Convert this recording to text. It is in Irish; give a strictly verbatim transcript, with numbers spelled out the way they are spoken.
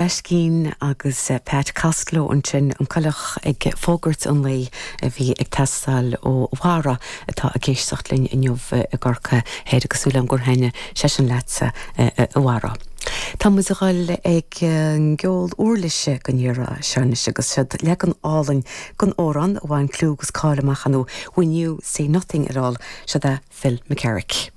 Keane agus Pat Costello ansin an coileach ag fógairt an lae a bhí ag teastáil ó Mhara atá ag éisteacht linn inniu i gCorcaigh Thoir agus súil gur thaitin sé sin leatsa a Mhara. Tá muid ag dul ag ceol uirlise don iarraidh seo agus siod leagan álainn den amhrán a bhain clú agus cáil amach ann When You Say Nothing at All siod é Phil McCarrick.